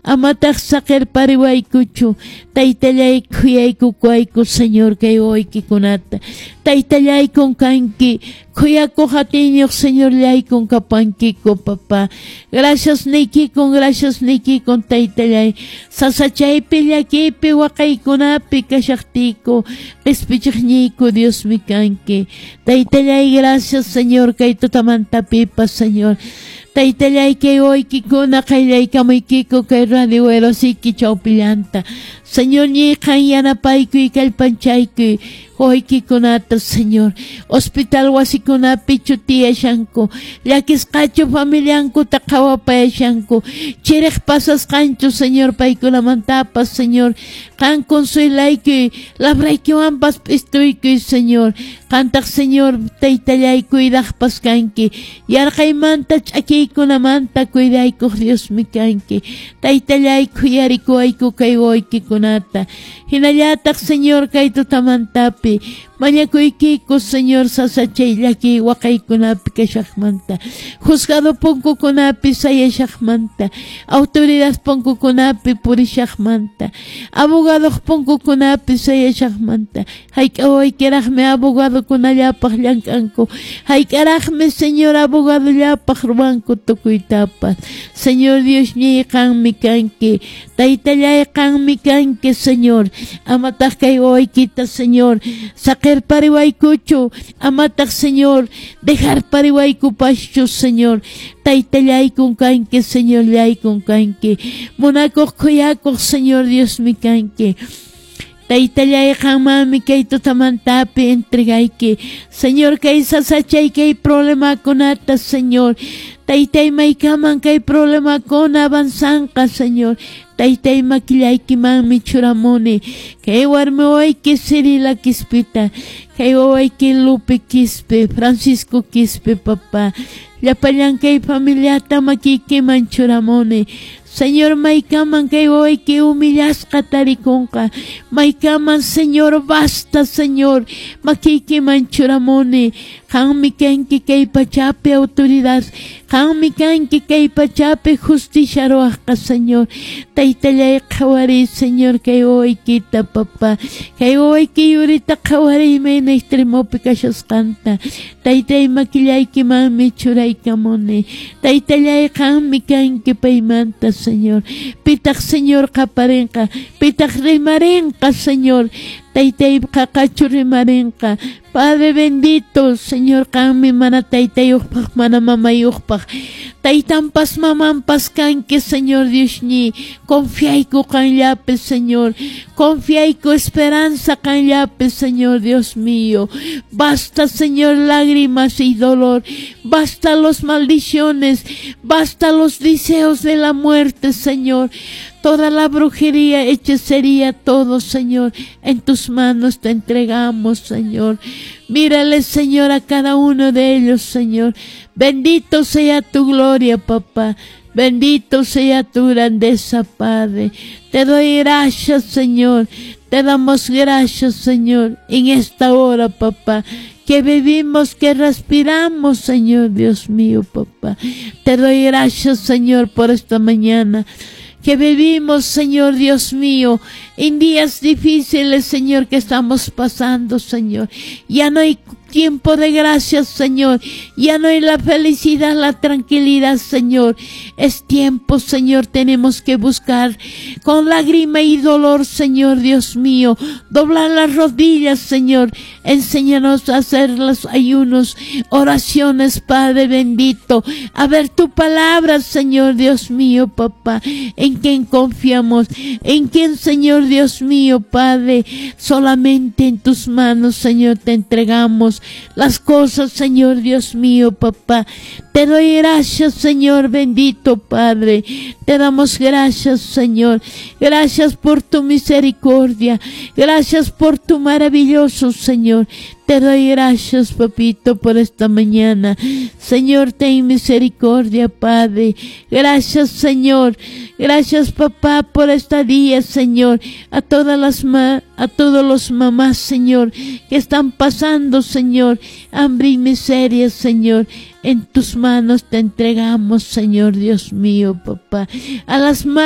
Amataq saqerpariwaykuchu. Taytallay khuyaykukuwayku, Señor, kay wawaykikunata. Taytallaykun kanki, khuyakuq atiyniyoq Señorllaykun kapankiku, papá. Gracias niykikun, gracias niykikun, taytallay. Sasachaypi, llakiypi, waqaykunapi kashaqtiyku, qespichiqniyku Diosmi kanki. Taytallay, gracias, Señor, kay tutamantapipas, Señor. Taytallay, kay wawaykikuna qayllaykamuykiku kay radio Werosiki chawpillanta. Señor, ñiqan yanapaykuy, kallpanchaykuy wawaykikunata, Señor. Hospital wasikunapichu tiyashanku, llakisqachu familiankuta qhawapayashanku, chiriq pasasqanchu, Señor, paykunamantapas, Señor. Qan consuelaykuy, labraykiwanpas p'istuykuy, Señor. Qantaq, Señor, taytallay cuidaqpas kanki. Yarqaymanta ch'akiykunamanta cuidaykuq Diosmi kanki. Taytallay khuyarikuwayku kay wawaykikunata. Hinallataq, Señor, kay tutamantapi mañakuykiku, Señor, sasachay llakiy waqaykunapi kashaqmanta, juzgado punkukunapi sayashaqmanta, autoridad punkukunapi purishaqmanta, abogadoq punkukunapi sayashaqmanta. Hayk'a wawaykiraqmi abogadokunallapaq llank'anku, hayk'araqmi, Señor, abogadollapaq ruwanku tukuytapas. Señor Diosñiy, qanmi kanki. Taytallay, qanmi kanki, Señor. Amataq kay wawaykita, Señor, saqerpariwaykuchu. Amataq, Señor, dejarpariwaykupaschu, Señor. Taytallaykun kanki, Señorllaykun kanki. Munakuq, khuyakuq, Señor Diosmi kanki. Taytallay, qanmanmi kay tutamantapi entregayki, Señor, kay sasachay kay problemakunata, Señor. Taytay, maykaman kay problemakuna avanzanqa, Señor. Taytay, makillaykimanmi churamuni kay warmi wawayki Cirila Quispita, kay wawayki Lupe Quispe, Francisco Quispe, papá. Llapallan kay familiata makiykiman churamuni. Señor, maykaman kay wawayki humillasqa tarikunqa. Maykaman, Señor, basta, Señor. Makiykiman churamuni. Qanmi kanki kay pachapi autoridad. Qanmi kanki kay pachapi justicia ruwaqqa, Señor. Taytallay qhawariy, Señor, kay wawaykita, papá. Kay wawayki yurita qhawariy mayna extremopi kashasqanta. Taytay, makillaykimanmi churaykamuni. Taytallay, qanmi kanki paymanta, Señor. Pitaq, Señor, qaparinqa, pitaq rimarinqa, Señor. Taytay, qaqachu rimarinqa. Padre bendito, Señor, qanmi mana taytayuqpaq, mana mamayuqpaq, taytanpas mamanpas kanki, Señor Diosñi. Confiayku qanllapi, Señor. Confiayku esperanza qanllapi, Señor Dios mío. Basta, Señor, lágrimas y dolor. Basta los maldiciones. Basta los deseos de la muerte, Señor. Toda la brujería, hechicería, todo, Señor, en tus manos te entregamos, Señor. Mírale, Señor, a cada uno de ellos, Señor. Bendito sea tu gloria, papá. Bendito sea tu grandeza, Padre. Te doy gracias, Señor. Te damos gracias, Señor, en esta hora, papá, que vivimos, que respiramos, Señor Dios mío, papá. Te doy gracias, Señor, por esta mañana que vivimos, Señor Dios mío, en días difíciles, Señor, que estamos pasando, Señor. Ya no hay tiempo de gracias, Señor. Ya no hay la felicidad, la tranquilidad, Señor. Es tiempo, Señor, tenemos que buscar con lágrima y dolor, Señor Dios mío. Doblar las rodillas, Señor. Enséñanos a hacer los ayunos, oraciones, Padre bendito. A ver tu palabra, Señor Dios mío, papá. En quien confiamos, en quien, Señor Dios mío, Padre, solamente en tus manos, Señor, te entregamos las cosas, Señor Dios mío, papá. Te doy gracias, Señor bendito, Padre. Te damos gracias, Señor. Gracias por tu misericordia. Gracias por tu maravilloso, Señor. Te doy gracias, papito, por esta mañana. Señor, ten misericordia, Padre. Gracias, Señor. Gracias, papá, por este día, Señor. A todos los mamás, Señor, que están pasando, Señor, hambre y miseria, Señor. En tus manos te entregamos, Señor Dios mío, papá. A las madres